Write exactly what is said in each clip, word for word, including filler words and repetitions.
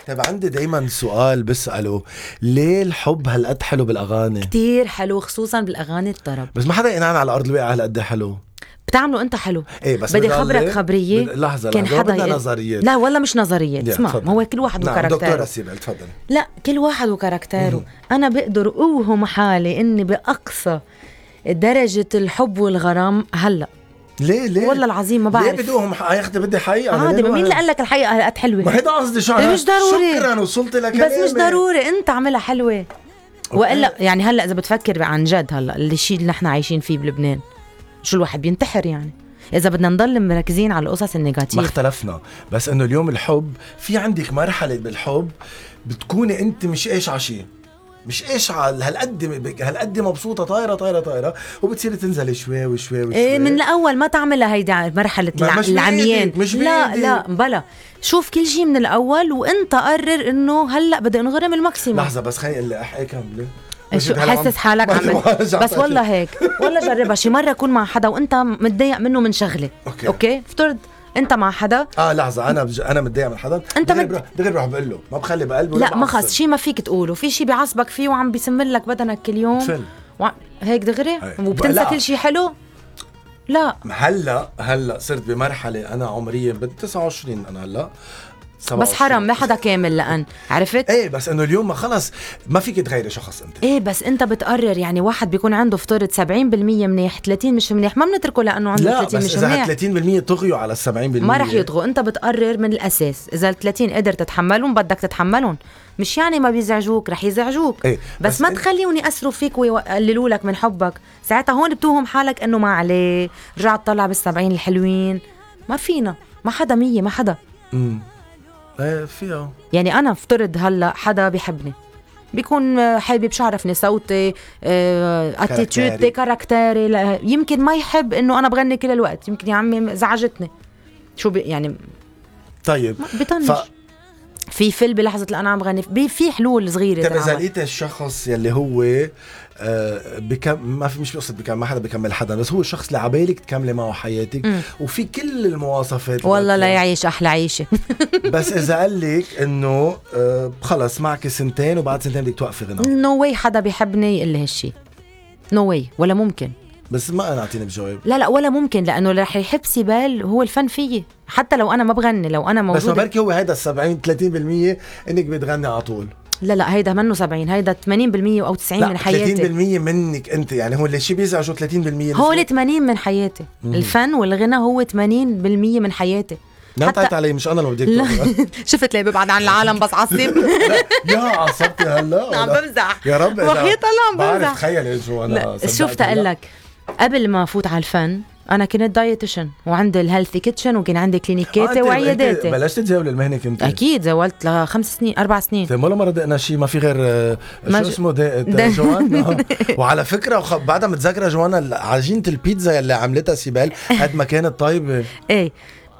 طيب عندي دايما سؤال بسأله، ليه الحب هالقد حلو بالأغاني؟ كتير حلو خصوصا بالأغاني الطرب، بس ما حدا ينعن على أرض الواقع هالقد حلو. بتعملوا انت حلو. ايه بس بدي خبرك خبرية. بد... لحظة كان لحظة حدا بدنا ي... نظريات. لا والله مش نظريات، اسمع ما هو كل واحد نعم وكاركتره. دكتورة سيبل تفضل. لا كل واحد وكاركتره. انا بقدر اوهم حالي اني باقصى درجة الحب والغرام هلا. ليه ليه والله العظيم ما بعرف. ليه بدوهم يا اختي بدي حقيقة عادي. مين اللي قال لك الحقيقة هالقد حلوة؟ ما هيدا قصدي شو مش ضروري. شكرا وصلت لكلامي. بس مش ضروري انت عملها حلوة. والا يعني هلا اذا بتفكر عن جد هلا الشيء اللي نحن عايشين فيه بلبنان شو الواحد بينتحر يعني إذا بدنا نضل مركزين على القصص النيجاتيف. ما اختلفنا، بس إنه اليوم الحب في عندك مرحلة بالحب بتكوني أنت مش إيش عشي مش إيش على هالقد هالقد مبسوطة طايرة طايرة طايرة وبتصير تنزل شوي وشوي وشوي. إيه من الأول ما تعملها هيدي مرحلة الع... العميان. مش لا لا بلا شوف كل شيء من الأول وأنت قرر إنه هلا بدي انغرم الماكسيموم. لحظة بس خليني اللي أحكي كاملة. شو حسس حالك عمل بس والله هيك والله جربها شي مرة كون مع حدا وانت متضايق منه من شغلة. اوكي, أوكي؟ افترض انت مع حدا. اه لحظة انا بج... انا متضايق من حدا انت دغري بروح دغري بروح بقول له ما بخلي بقلبه. لا ما خلص شي ما فيك تقوله في شي بيعصبك فيه وعم بيسمر لك بدنك كل يوم و... هيك دغري وبتنسى كل شي حلو. لا هلا هلا صرت بمرحلة انا عمريا ب تسعة وعشرين انا هلا بس حرام ما حدا كامل لأن عرفت. ايه بس انه اليوم ما خلص ما فيك تغيري شخص انت. ايه بس انت بتقرر يعني واحد بيكون عنده افترض سبعين بالمية منيح ثلاثين مش منيح ما بنتركه لانه عنده ثلاثين مش منيح. لا بس اذا ثلاثين بالمية طغيوا على السبعين بالمية ما رح يطغوا. انت بتقرر من الاساس اذا ثلاثين قدر تتحملهم بدك تتحملهم مش يعني ما بيزعجوك رح يزعجوك. إيه بس, بس ما تخليهم يأثروا فيك ويقللوا لك من حبك. ساعتها هون بتوهم حالك انه ما عليه رجعت طلع بالسبعين الحلوين. ما فينا ما حدا مية ما حدا. امم ايه فيها يعني انا افترض هلا حدا بيحبني بيكون حابب شعرفني صوتي اتيتيودي كاركتيري يمكن ما يحب انه انا بغني كل الوقت يمكن يا عمي زعجتني شو بي يعني. طيب بطنش ف... في فيلم بلحظة اللي أنا عم غني في حلول صغيرة. طيب إذا لقيت الشخص يلي هو آه بكم ما في مش بيقصد بكم ما حدا بكمل حدا بس هو الشخص اللي عبالك تكملي معه حياتك م. وفي كل المواصفات والله لا يعيش أحلى عيشة. بس إذا قال لك إنه آه خلص معك سنتين وبعد سنتين بدك توقفي غنى. نو واي حدا بيحبني يقول لي هالشي نو واي ولا ممكن. بس ما أنا أعطيني بجواب. لا لا ولا ممكن لأنه رح يحب سيبال هو الفن فيه حتى لو أنا ما بغني لو أنا موجودة. بس ما بركي هو هيدا السبعين ثلاثين بالمية إنك بتغني على طول. لا لا هيدا منه سبعين هيدا ثمانين بالمية أو تسعين من حياتي. ثلاثين بالمية منك أنت يعني هو اللي شي بيزعجه ثلاثين بالمية هو اللي ثمانين من حياتي. مم. الفن والغنى هو ثمانين بالمية من حياتي. لا حتى... علي مش أنا اللي بديك شفت ليه ببعد عن العالم بس عصب. يا عصبتي هلا. عم بمزح يا رب وحياة الله عم بمزح. بعرف تخيل شو أنا شفت أقول لك قبل ما أفوت على الفن أنا كنت دايتيشن وعندي الهيلثي كيتشن وكان عندي كلينيكاتي آه وعياداتي. بلشت تزاول المهنة كنت؟ أكيد زاولت لخمس سنين أربع سنين. طيب ولا مرة دقنا شيء ما في غير شو اسمه دقت جوانا. وعلى فكرة وخ... بعدها متذكرة جوانا عجينة البيتزا اللي عملتها سيبال قد ما كانت طيبة. إيه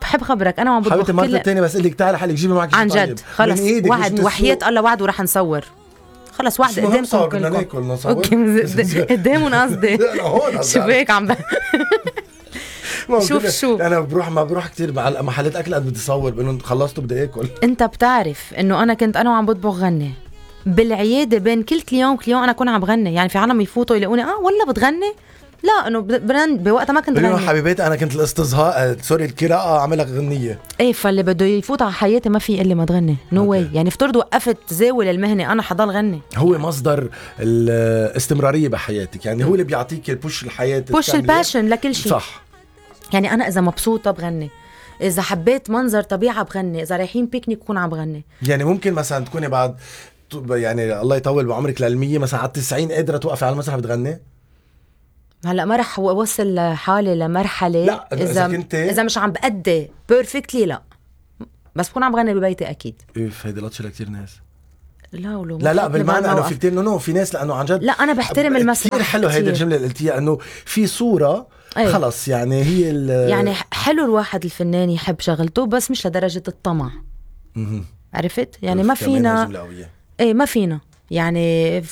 بحب خبرك أنا عم بطبخ حبيبتي مرة التانية بس قلك تعالي حالك جيبي معك عن جد خلص واحد وحياة الله وعد وراح نصور خلص واحد قدامكم كلكم. اوكي قدامهم قصدي شو بيك عم شوف شو انا بروح ما بروح كتير على محلات اكل قد بدي صور بانه خلصتوا بدي اكل. انت بتعرف انه انا كنت انا وعم بطبخ غني بالعياده بين كل كليون كليون انا كون عم بغني يعني في عالم يفوتوا يلاقوني اه والله بتغني لا انه بوقتها ما كنت غني حبيباتي انا كنت الاستظهاء سوري القراءه اعملها غنيه. ايه فاللي بده يفوت على حياتي ما في اللي ما تغني نو no واي يعني افترض وقفت تزاول المهنه انا حضل غني. هو مصدر الاستمراريه بحياتك يعني هو اللي بيعطيك البوش الحياه بوش الباشن لكل شيء صح. يعني انا اذا مبسوطه بغني اذا حبيت منظر طبيعه بغني اذا رايحين بيكنيك بكون عم بغني. يعني ممكن مثلا تكوني بعد يعني الله يطول بعمرك للمية مثلا على التسعين قادره توقفي على المسرح بتغني. هلا ما رح اوصل حالي لمرحله لا اذا كنت اذا مش عم بأدي بيرفكتلي لا بس بكون عم بغني ببيتي اكيد. ايه هيدي لطشه لكثير ناس. لا ولو لا لا بالمعنى انه في كثير نو في ناس لانه عن جد لا انا بحترم المسرح كثير حلو هيدي الجمله اللي قلتيها انه في صوره أيه. خلص يعني هي يعني حلو الواحد الفنان يحب شغلته بس مش لدرجه الطمع. اها عرفت يعني ما فينا ايه ما فينا يعني في